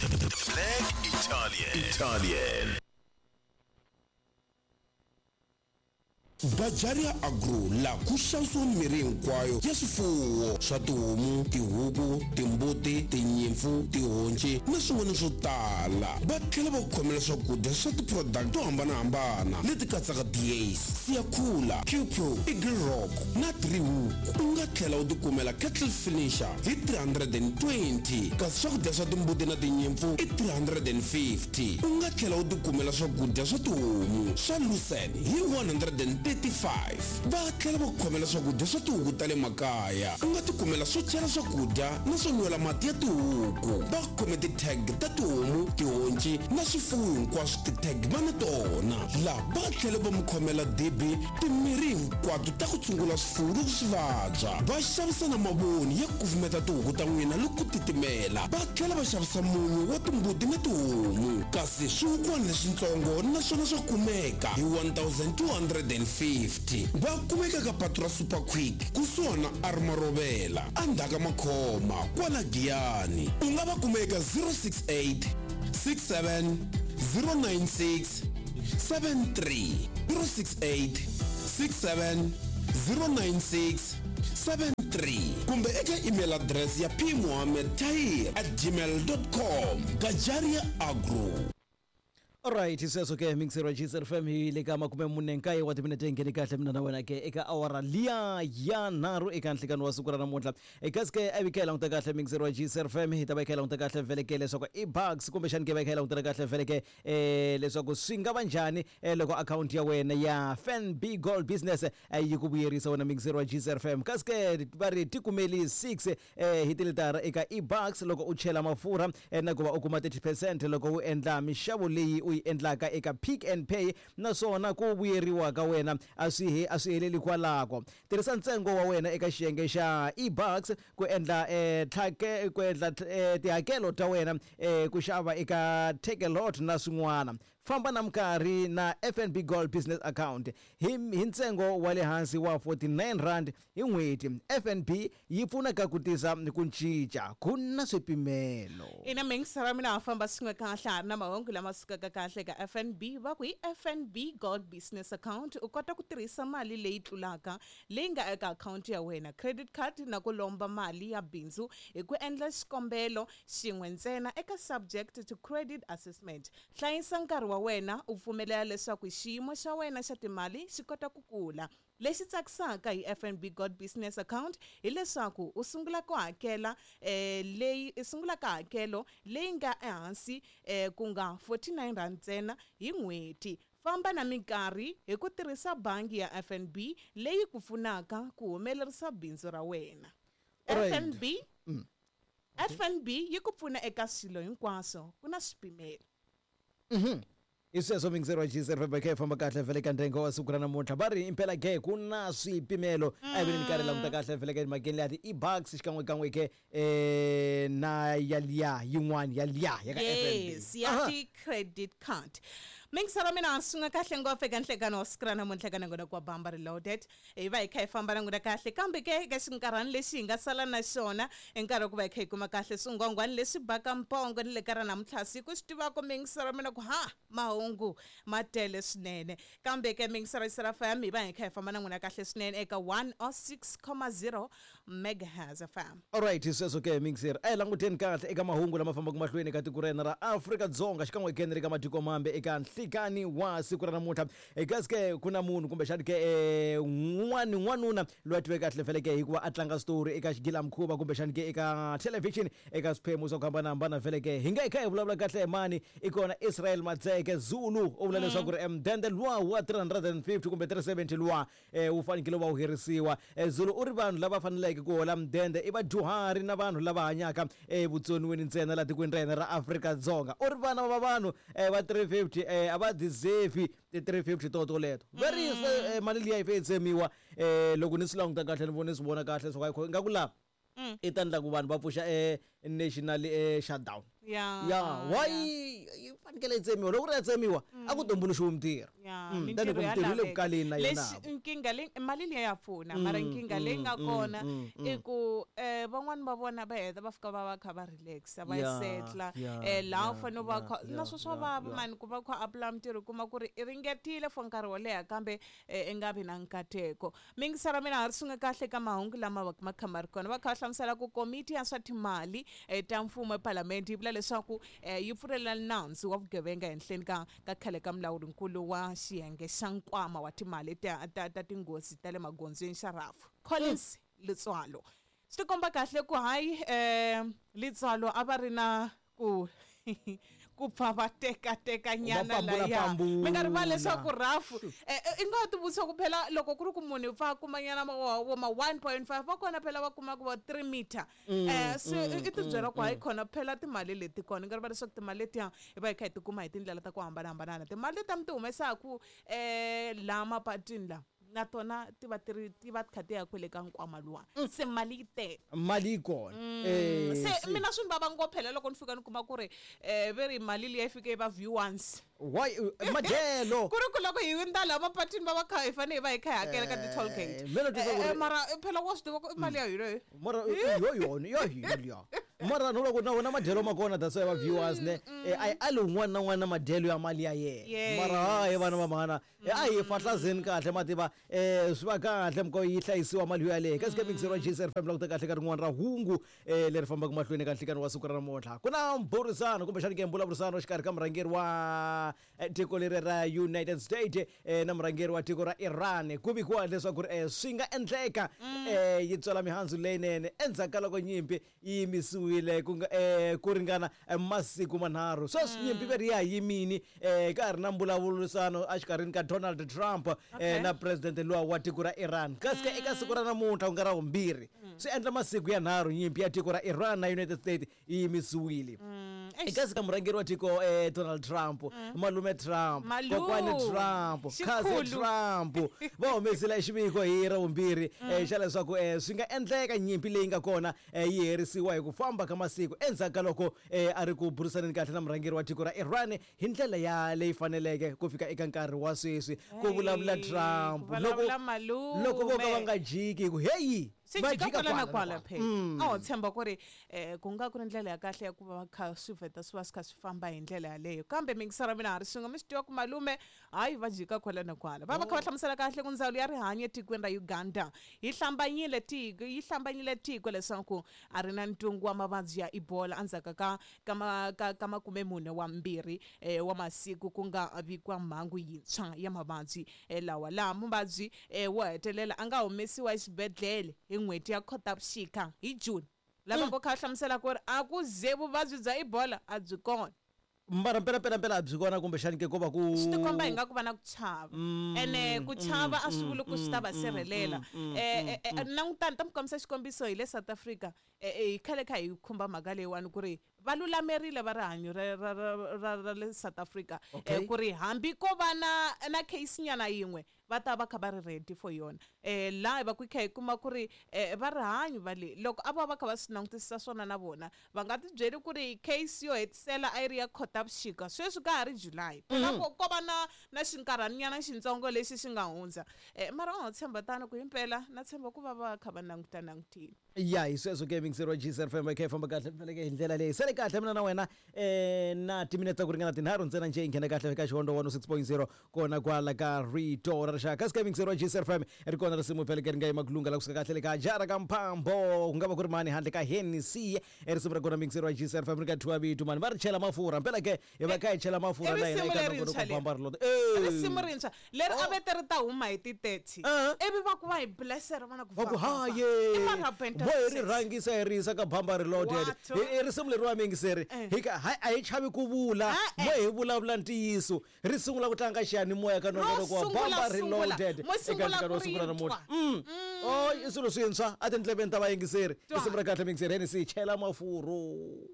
Black Italian. Italian. Bajaria Agro laha ku xavisiwa mirhi hinkwayo ya swifuwo swa tihomu, tihuku, timbuti, tinyimpfu, tihonci na swin'wana swo tala. Va tlhela va ku khomela swakudya swa ti-product to hambanahambana leti katsaka Diace, Siyakhula, Qpro, Eagle Rock na Driehoek. U nga tlhela u tikumela Cattle Finisher hi 320 kasi swakudya swa timbuti na tinyimpfu i 350. U nga tlhela u tikumela swakudya swa tihomu swa Lucerne hi 135. Va tlhela va ku khomela swakudya swa tihuku ta le makaya. U nga tikumela swo chela swakudya na swo nwela mati ya tihuku. Va khome ti-tag ta tihomu, tihonci na swifuwo hinkwaswo ti-tag va na tona. Laha va tlhele va mi khomela dibi, timirhi hinkwato ta ku tshungula swifuwo loko swi vabya. Va xavisa na mavoni ya ku kufumeta tihuku ta n'wina loko ku titimela. Va tlhela va xavisa munyu wa timbuti na tihomu. Kasi swihukwana leswintsongo na swona swa kumeka hi 1250. Va kumeka ka patu ra Super Quick kusuhana na Armarovela endzhaku ka Makhoma kwala Giyani. U nga va kuma eka 068 67 096 73 068 67 096 73 kumbe eka email address ya pmohammed tahir at gmail com. Gajaria Agro. Alright, sweswo ke mixer wa GSR FM hi le ka 49 wa timinete hi nghene kahle mina na wena ke eka awara liya ya nharhu eka nhlikani wa siku ra namuntlha. Kasi ke a vi kha hi languta kahle mixer wa GSR FM hi ta va hi kha hi languta kahle vhele ke leswaku i bucks kumbexani ke va hi kha hi langutela kahle vhele ke leswaku swi nga va njhani loko akhawunti ya wena ya FNB Gold Business yi ku vuyerisa wena mixer wa GSR FM. Kasi ke va ri tikumeli 6 hi tilitara eka eBucks loko u chela mafurha na ku va u kuma 30 percent loko u endla mixavo leyi u yi endlaka eka Pick n Pay naswona ku vuyeriwa ka wena a swi he a swi heleli kwalako. Tirhisa ntsengo wa wena eka xiyenge xa eBucks ku endla tlhake ku endla tihakelo ta wena ku xava eka Takealot na swin'wana. Famba na minkarhi na FNB Gold Business Account hi hi ntsengo wa le hansi wa R49 hi n'hweti. FNB yi pfuna ka ku tisa ku cinca ku na swipimelo. Ina mingisa ra mina ha famba swin'we kahle ha ri na mahungu lama sukaka kahle eka FNB va ku hi FNB Gold Business Account u kota ku tirhisa mali leyi tlulaka leyi nga eka akhawunti ya wena, credit card na ku lomba mali ya bindzu hi ku endla xikombelo xin'we ntsena eka subject to credit assessment. Hlayisa nkarhi wa wena u pfumelela leswaku xiyimo xa wena xa timali xi kota ku kula. Lexi tsakisaka hi FNB Got Business Account hi leswaku u sungula ku hakela leyi u sungula ka hakelo leyi nga ehansi ku nga R49 ntsena hi n'hweti. Famba na minkarhi hi ku tirhisa bangi ya FNB leyi ku pfunaka ku humelerisa bindzu ra wena. FNB FNB yi ku pfuna eka swilo hinkwaswo ku na swipimelo. Hi sweswo muyingiseri wa GCR famba kha hi famba kahle vhele ka ndhengo wa siku ra namuntlha va ri impela ke ku na swipimelo a hi veni minkarhi languta kahle vhele ka emhakeni leya ti-e-bucks xikan'wekan'we ke na ya liya yin'wana ya liya ya ka FNB. Yes, ya ti-credit card. Miyingiseri wa mina swi nga kahle ngopfu eka nhlekano wa siku ra namuntlha ka nongonoko wa Bamba Reloaded. Hi va hi kha hi famba na n'wina kahle kambe ke eka xinkarhana lexi hi nga sala na xona i nkarhi wa ku va hi kha hi kuma kahle swingwangwani leswi baka mpongo ni le ka ra namuntlha siku swi tivaka miyingisero wa mina ku ha mahungu ma tele swinene kambe ke miyingisero ya Sera FM hi va hi kha hi famba na n'wina kahle swinene eka 106.0 megahertz FM. Alright, sweswo ke mixer a hi languteni kahle eka mahungu lama fambaka mahlweni eka tiko ra hina ra Afrika-Dzonga xikan'we ke ni le ka matiko mambe eka nhlikani wa siku ra namuntlha. Kasi ke ku na munhu kumbexani ke n'wani n'wanuna loyi a tiveka kahle vhele ke hikuva a tlanga switori eka xigilamkhuva kumbexani ke eka television eka swiphemu swa ku hambanahambana vhele ke hi nga hi kha hi vulavula kahle hi mani i kona Israel Matseke Zulu u vula leswaku ri mudende luwa wa 350 kumbe 370 luwa wu fanekele wu va wu herisiwa. Zulu u ri vanhu lava faneleke ku hola mudende i vadyuhari na vanhu lava hanyaka evutsoniweni ntsena laha tikweni ra hina ra Afrika-Dzonga. U ri vana va vanhu va 350 a va deserve ti 350 to toleto. Va ri mali liya yi fanele yi tsemiwa. Loko ni swi languta kahle ni vona ni swi vona kahle leswaku ingaku laha i ta endla ku vanhu va pfuxa national shutdown. Ya why yi fanekele yi tsemiwa? Loko ku ri ya tsemiwa a ku tumbuluxiwi mintirho. Ya, Tani ku mintirho ya mintirho yi le ku laveka. kaleni na yona. Lexi nkingha leyi mali liya ya pfuna, mara nkingha leyi nga kona i ku van'wani va vona va heta va fika va va kha va relaxa, va setla laha u fanele u va kha na swo swa vava mani ku va kha apply mintirho, u kuma ku ri i ringetile for nkarhi wo leha kambe i nga vi na nkateko. Miyingiselo ya mina ha ri swin'we kahle ka mahungu lama va ma kha ma ri kona, va kha va hlamusela ku komiti ya swa timali ta mfumo epalamende yi vula leswaku yi pfulela nandzu wa vugevenga henhleni ka khale ka mulawurinkulu wa xiyenge xa nkwama wa timali ta tinghozi ta le magondzweni xa RAF, Collins Letsoalo. Swi tikomba kahle ku hayi Letsoalo a va ri na ku pfa va tekateka nyana Va pambula, laya. Mi nga rivali pambula. leswaku RAF i nga ti vutisa ku phela loko ku ri ku munhu pfa a kuma nyana vo ma 1.5 va kona phela va kuma ku va 3 meter. Se i ti byela ku hayi khona phela timali leti kona. I nga rivali leswaku timali letiya hi va hi kha hi ti kuma hi tindlela ta ku hambanahambana. Timali leti mi ti humesaku laha mapatwini laha na tona ti va ti ri ti va ti kha ti ya kwele ka nkwama luwa. Se mali yi tele. Mali yi kona. Se mina swi ni vava ngopfu phela loko ni fika ni kuma ku ri ve ri mali liya yi fike yi va view once. Why madyelo? Ku ri ku loko hi hundza laha mapatwini va va kha hi fanele hi va hi kha hi hakela ka ti-toll gate. Mina ni twisisa ku ri- Mara phela wa swi tiva ku i mali ya hina yi. Mara yo yona ya hina liya. Mara no loko na wona madyelo ma kona, that's why va viewers ne a yi ali un'wana na un'wana na madyelo ya mali ya yena. Mara hayi vana va mhana, a hi fahlazeni kahle mativa, swi va kahle mko yi hlayisiwa mali yo yaleyo. Kasi ka mixero wa JSR FM languta kahle ka rin'wana ra hungu leri fambaka mahlweni ka nhlikani wa siku ra namuntlha. Ku na mbhurisano kumbexana ke mbulavurisano exikarhi ka murhangeri wa tiko leri ra United States na murhangeri wa tiko ra Iran. Ku vikiwa leswaku swi nga endleka yi tswala mihandzu leyinene endzhaku ka loko nyimpi yi yimisiwile ku nga ku ringana masiku manharhu. Sweswi nyimpi ve ri ya yimini, ka ha ri na mbulavurisano exikarhini ka Donald Trump na president luwa wa tiko ra Iran. Kasi ke eka siku ra namuntlha ku nga ra vumbirhi swi endla masiku ya nharhu nyimpi ya tiko ra Iran na United States yi yimisiwile. Eka siku murhangeri wa tiko Donald Trump, malume Trump, Malume. kokwani Trump, Xikhulu. cousin Trump va humesile xiviko hi ra vumbirhi xa leswaku swi nga endleka nyimpi leyi nga kona yi herisiwa hi ku famba ka masiku endzhaku ka loko a ri ku burisaneni kahle na murhangeri wa tiko ra Iran hi ndlela ya leyi faneleke ku fika eka nkarhi wa sweswi. Ku vulavula Hey, Trump ku vulavula malume. loko vo ka va nga jiki hi ku heyi Swi va jika jika kwala na kwala kwala na phela. A ho tshemba ku ri ku nga ku ri ndlela ya kahle ya ku va kha swi vheta swi va swi kha swi famba hi ndlela yaleyo. Kambe miyingiselo ya mina ha ri swin'we, mi swi tiva ku malume hayi va jika kwala na kwala. Va va kha va hlamusela kahle ku ndzawulo ya rihanyo etikweni ra Uganda yi hlambanyile tiko, yi hlambanyile tiko leswaku a ri na ntungu wa mavabyi ya Ebola endzhaku ka 42 wa masiku ku nga vikiwa mhangu yintshwa ya mavabyi lawa. Laha muvabyi wo hetelela a nga humesiwa exibedhlele hi n'hweti ya Khotavuxika hi June. Lava vo kha va hlamusela ku ri a ku ze vuvabyi bya Ebola a byi kona. Mara mpela mpela mpela a byi kona kumbexani ke ko va ku Swi tikomba hi nga ku va na ku chava. Ene ku chava a swi vuli ku swi ta va sirhelela. Langutani ta mi kombisa xikombiso hi le South Africa. Hi khale kha hi khumba mhaka leyiwani ku ri va lulamerile va rihanyo ra le South Africa. Ku ri hambi ko va na case nyana yin'we va ta va kha va ri ready for yona. Laha hi va ku kha hi kuma ku ri va rihanyo va le loko a va va kha va swi langutisisa swona na vona va nga ti byeli ku ri case yo hetisela a yi ri ya Khotavuxika sweswi ka ha ri July. Phela ko va na xinkarhanyana xintsongo lexi xi nga hundza. Mara u nga tshemba tano ku himpela na tshemba ku va va kha va languta langutile. Ya hi sweswo ke mixero wa JSR FM kha yi famba kahle faneleke hi ndlela leyi. Sale kahle mina na wena na timinete ta ku ringana tinharhu ntsena njhe yi nghena kahle ka xihondzo 106.0 kona kwala ka rito ra rixaka. Kasi ka mixero wa JSR FM ri kona risimu phela ke ri nga yima ku lunga la kusuka kahle le ka jara ka mphambo ku nga va ku ri mani handle ka Hennessy. Risimu ra kona mixero wa JSR FM ri ka thiwa vito mani va ri chela mafurha mpela ke hi va kha hi chela mafurha I na hina risimu eka lerintshwa nongonoko leri. bamba ri lota. Risimu rintshwa leri a vete ri ta huma hi ti 30. Ivi va ku va hi blesser vana ku Va ku va, va, va. haye I mara Benta vo hi ri Success. rhangisa hi ri yisa ka bamba reloaded. What? I risimu leriwa miyingiseri hi ka a hi chavi ku vula mo hi vulavula ntiyiso ri sungula ku tlanga xiyanimoya ka nongonoko wa sungula, bamba sungula. reloaded Mo eka sungula nhlekani wa ku ri siku ra namuntlha. twa. Oh, i swilo swintshwa a tindleveni ta vayingiseri. Twa. Risimu ra kahle miyingiseri Hennessy chela mafurho.